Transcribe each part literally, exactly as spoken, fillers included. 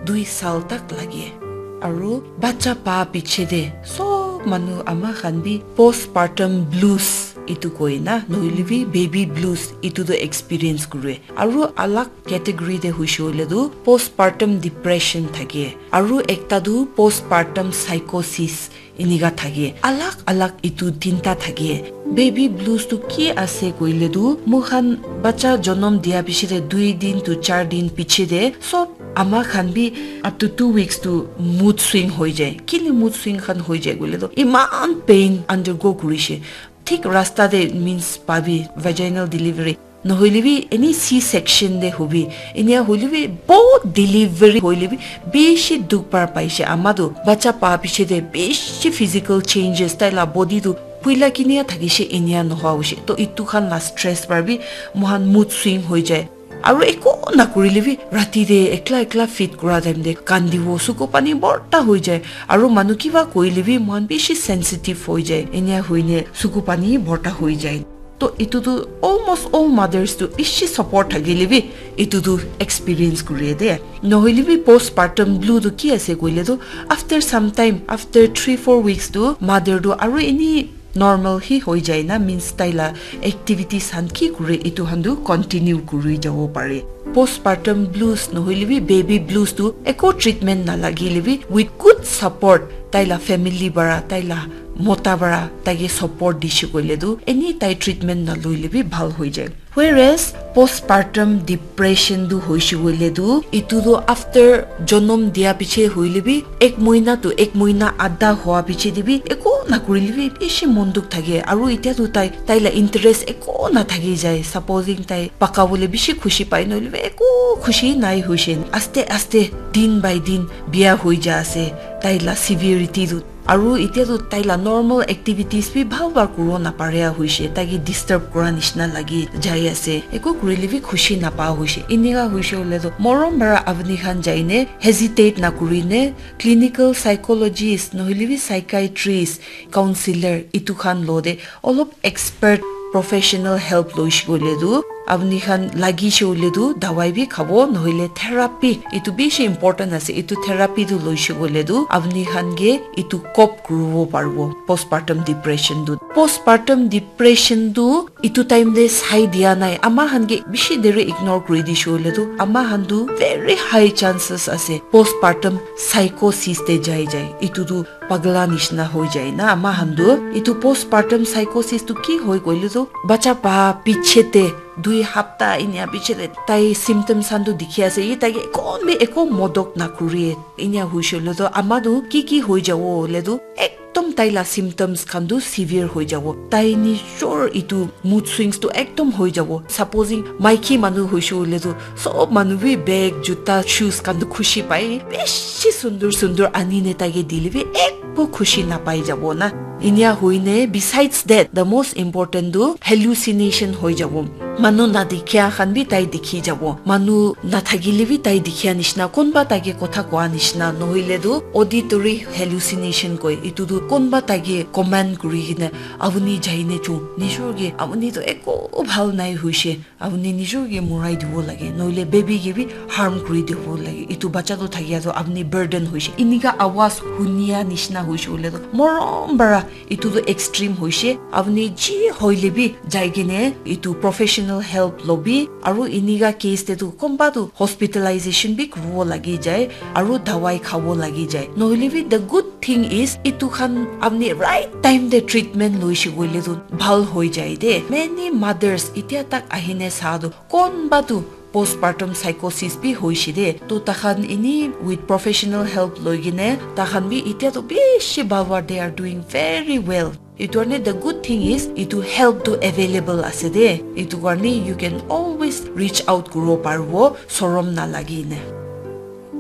dui sal tak lage. Aru bacha pa piche de sob manu ama khan bi postpartum blues itu koi na, nohile bi baby blues itu tu experience kure. Aru alag category de hoishe hoile tu postpartum depression thake. Aru ekta tu postpartum psychosis. Enika thake, alag alag itu tinta thake. Baby blues tu ki ase koile tu, moikhan bacha jonom dia piche de dui din to char din piche de sob ama khan bi up to two weeks tu mood swing hoi jai. Kile mood swing khan hoi jai koile tu, iman pain undergo kurishe. Thik rasta de means pabi vaginal delivery. Nohoile bi any C section de hobi, enia hoile bi bahut delivery hoile bi bishi dukh par paishe. Ama tu bacha pa piche de bishi physical changes, tai la body tu puila kinia thakishe enia nohoa hoishe. To itu khan la stress par bi mohan mood swing hoi jai. Aru eko na kurile bi rati de ekla ekla feed kura time de kandibo, suku pani borta hoi jai. Aru manu kiba koile bi mohan bishi sensitive hoi jai. Enia hoine suku pani borta hoi jai. To itu tu almost all mothers tu bishi support thakile bi itu tu experience kure de. Nohoile bi postpartum blue tu ki ase koile tu, after some time, after three four weeks tu mother tu aru ini normal hi hoi jai na, means tai la activities han ki kure itu han tu continue kuri jabo pare. Postpartum blues nohoile bi baby blues tu eko treatment na lagile bi, with good support tai la family bara, tai la mota para taike support dishe koile tu, any tai treatment naloile bi bhal hoi jai. Whereas postpartum depression tu hoishe koile tu, itu tu after jonom dia piche hoile bi, ek moina tu ek moina adha hoa piche de bi, eko na kurile bi bishi mon dukh thake. Aru itya tu tai, tai la interest eko na thaki jai. Supposing tai paka bole bishi khushi pai, nohole bi eko khushi nai hoishe. Aste aste, din by din, bia hoi ja ase. Tai la severity tu Aru itya tu tai la normal activities bi bhal para kuribo naparia hoishe, taike disturb kura nishina lagi jai ase, eku kurile bi khushi napa hoishe. Enika hoishe hoile tu morom para apni khan jaine hesitate nakurine clinical psychologist nohoile bi psychiatrist, counselor itu khan lo de olop expert professional help loishe koile tu apni khan lagishe hoile tu dawai bi khabo, nohoile therapy, itu bishi important ase, itu therapy tu loishe koile tu apni khan ke itu cope kuribo paribo postpartum depression tu. Postpartum depression tu itu time te sai dia nai, ama khan ke bishi deri ignore kuri dishe hoile tu ama khan tu very high chances ase postpartum psychosis te jai jai. Itu tu pagla nishina hoi jai na ama khan tu. Itu postpartum psychosis tu ki hoi koile tu, bacha pa piche te dui hapta inia piche te tai symptoms khan tu dikhi ase, ye tai ke kon bi eko modok na kuri. Inia hoishe hoile tu ama tu ki ki hoi jabo hoile tu ekdom tai la symptoms khan tu severe hoi jabo. Tai nijor itu mood swings tu ekdom hoi jabo. Supposing maiki manu hoishe hoile tu sob manu bi bag, juta, shoes khan tu khushi pai, bishi sundur sundur ani ne tai ke dile bi ekbo khushi napai jabo na. Inia hoine, besides that, the most important tu hallucination hoi jabo. Manu na dikhia khan bi tai dikhi jabo. Manu na thakile bi tai dikhia nishina, konba tai ke kotha koa nishina, nohoile tu auditory hallucination koi. Itu tu konba tai ke command kuri kene, apuni jaine chu, nijor ke apuni tu eko bhal nai hoishe, apuni nijor ke morai dibo lage, nohoile baby ke bi harm kuri dibo lage. Itu bacha tu thakia tu apuni burden hoishe. Inika awaz hunia nishina hoishe hoile tu morom para itu tu extreme hoishe. Apuni ji hoile bi jai kene itu professional help lobi. Aru inika case te tu konba tu hospitalization bi kuribo lagi jai, aru dawai khabo lagi jai. Nohoile bi the good thing is itu khan apni right time te treatment loishe koile tu bhal hoi jai de. Many mothers itya tak ahine sa tu konba tu postpartum psychosis bi hoishe de. To takhan ini with professional help loi kene takhan bi itya tu bishi bhal para, they are doing very well. Itu karne the good thing is itu help tu available ase de. Itu karne you can always reach out kuribo paribo sorom nalagi ne.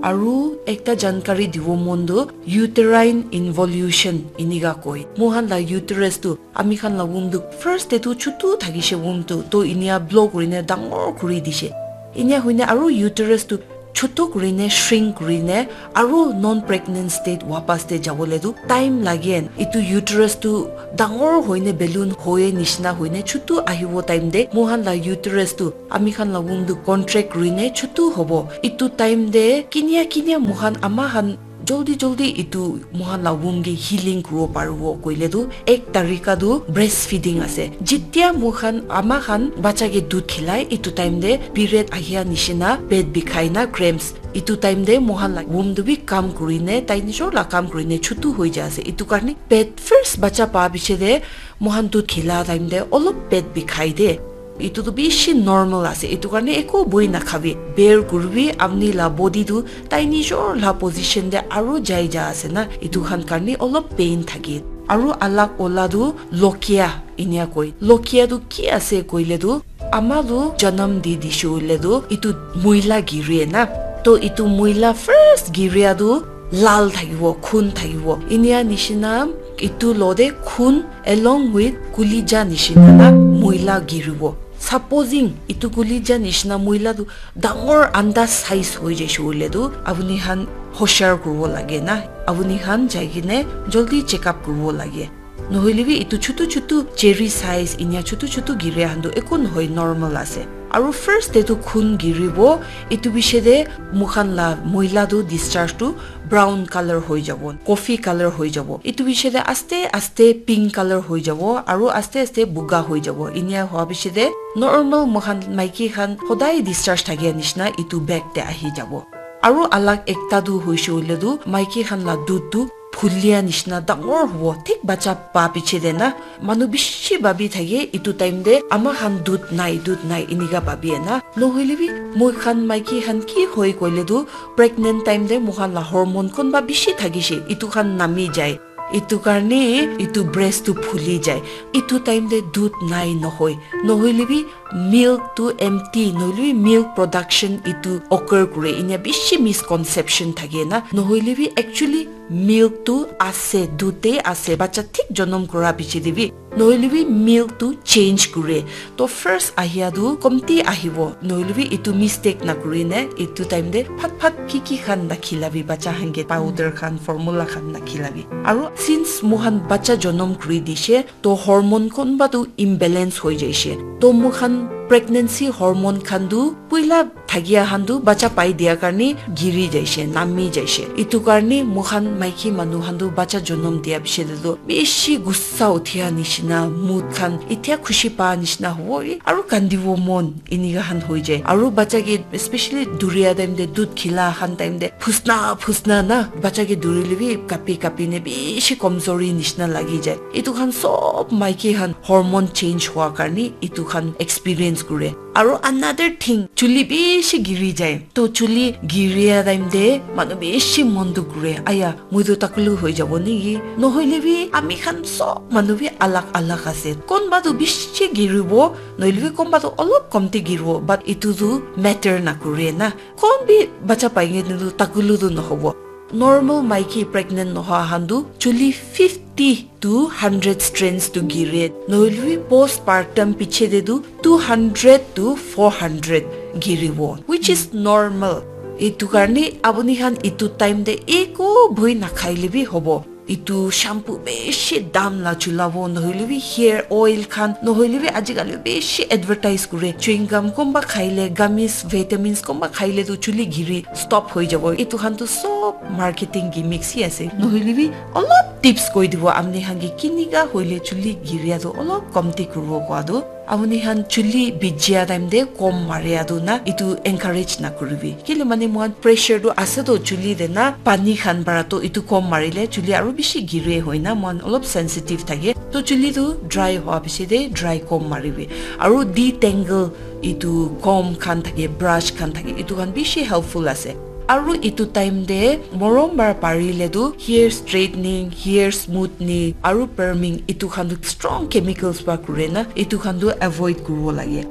Aru ekta jankari dibo mon tu uterine involution inika koi. Mohan la uterus tu, ami khan la womb tu first te tu chutu thakishe womb tu, to inia blow kurine dangor kuri dishe. Inia hoine aru uterus tu chutu kurine, shrink kurine, aru non pregnant state wapas te jabole tu time lage. Itu uterus tu dangor hoine balloon hoye nishina hoine chutu ahibo time te moikhan la uterus tu, ami khan la womb tu contract kurine chutu hobo. Itu time te kinia kinia moikhan ama khan joldi joldi itu moikhan la womb ke healing kuribo paribo koile tu ek tarika tu breastfeeding ase. Jitia moikhan ama khan bacha ke dudh khilai, itu time te period ahia nishina, pet bikhai na, cramps, itu time te moikhan la womb tu bi kam kurine, tai nijor la kam kurine chutu hoi ja ase. Itu karne pet first bacha pa piche te moikhan dudh khila time te olop pet bikhai de. Itu tu bishi normal ase. Itu karne eko boi nakhabi. Bear kuribi, apni la body tu tai nijor la position te aru jai ja ase na. Itu khan karne olop pain thake. Aru alak ola tu lokia inia koi. Lokia tu ki ase koile tu, ama tu janam di dishe hoile tu itu muila giri na. To itu muila first giria tu lal thakibo, khun thakibo. Inia nishina itu lo de khun along with kulija nishina na muila giribo. Supposing itu kulija nishina muila tu dangor anda size hoi jaishe hoile tu, apuni khan hoshar kuribo lage na. Apuni khan jai kene joldi check up kuribo lage. Nohoile bi itu chutu chutu cherry size inia chutu chutu giria khan tu eko nohoi, normal ase. Aru first te tu khun giribo, itu piche te moikhan la muila tu discharge tu brown color hoi jabo, coffee color hoi jabo. Itu piche te aste aste pink color hoi jabo, aru aste aste buga hoi jabo. Inia hoa piche te normal moikhan maiki khan hodai discharge thakia nishina itu back te ahi jabo. Aru alak ekta tu hoishe hoile tu maiki khan la dudh tu phulia nishina dangor hobo, thik bacha pa piche te na. Manu bishi bhabi thake itu time te ama khan dudh nai, dudh nai inika bhabi na. Nohoile bi moikhan maiki khan ki hoi koile tu pregnant time te moikhan la hormone konba bishi thakishe, itu khan nami jai. Itu karne itu breast tu phuli jai. Itu time te dudh nai nohoi. Nohoile bi milk tu empty, nohoile bi milk production itu occur kure. Inia bishi misconception thake na. Nohoile bi actually milk tu ase, dudh te ase. Bacha thik jonom kura piche te bi. Nohoile bi milk tu change kure. To first ahia tu komti ahibo. Nohoile bi itu mistake na kurine, itu time te phat phat ki ki khan na khilabi, bacha khan ke powder khan, formula khan na khilabi. Aru since moikhan bacha jonom kuri dishe, to hormone konba tu imbalance hoi jaishe. To moikhan pregnancy hormone khan tu puila thakia khan tu bacha pai dia karne giri jaishe, nami jaishe. Itu karne moikhan maiki manu khan tu bacha jonom dia piche te tu bishi gussa uthia nishina, mood khan itia khushi pa nishina hobo, aru kandibo mon inika khan hoi jai. Aru bacha ke especially duria time te, dudh khila khan time te phusna phusna na, bacha ke durile bi kapi kapi ne bishi komzori nishina lagi jai. Itu khan sob maiki khan hormone change hua karne itu khan experience kure. Aru another thing, chuli bishi giri jai. To chuli giria time te manu bishi mon dukh kure. Aya, moi tu takulu hoi jabo niki? Nohoile bi ami khan sob manu bi alag alag ase. Konba tu bishi giribo, nohoile bi konba tu olop komti giribo, but itu tu matter na kure na. Kon bi bacha pai nge tu takulu tu nohobo. Normal maiki pregnant nohoa khan tu chuli fifty to hundred strands tu gire. Nohoile bi postpartum piche te tu two hundred to four hundred giribo, which is normal. Itu karne apuni khan itu time te eko bhoi nakhaile bi hobo. Itu shampoo bishi dam la chulabo, nohoile bi hair oil khan, nohoile bi ajikali bishi advertise kure. Chewing gum konba khaile, gummies, vitamins konba khaile tu chuli giri stop hoi jabo. Itu khan tu sob marketing gimmicks hi ase. Nohoile bi olop tips koi dibo, apni khan ke kinika hoile chuli giria tu olop komti kuribo koa tu. Apuni khan chuli bijia time te kom maria tu na, itu encourage na kuribi. Kile mane moikhan pressure tu ase to chuli te na, pani khan para to itu kom marile chuli aru bishi gire hoi na, moikhan olop sensitive thake. To chuli tu dry hoa piche te dry kom maribi. Aru detangle itu comb khan thake, brush khan thake, itu khan bishi helpful ase. Aru itu time te morom para parile tu hair straightening, hair smoothening, aru perming itu khan tu strong chemicals pa kure na, itu khan tu avoid kuribo lage.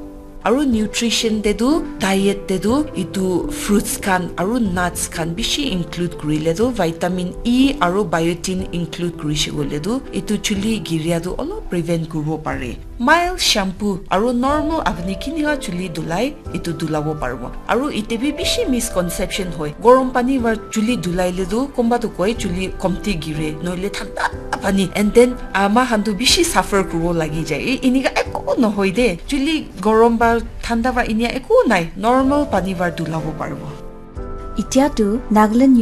Aru nutrition te tu, diet te tu itu fruits khan aru nuts khan bishi include kurile tu vitamin E aru biotin include kurishe koile tu itu chuli giria tu olop prevent kuribo pare. Mild shampoo aru normal apni kinika chuli dhulai, etu dhulabo paribo. Aru ite bi bishi misconception hoi, gorom pani para chuli dhulai le tu konba tu koi chuli komti gire, noile thanda pani, and then ama khan tu bishi suffer kuribo lagi jai. E, inika eku nohoi de, chuli gorom ba thanda ba inia eku nai, normal pani para dhulabo paribo. Itya tu Nagaland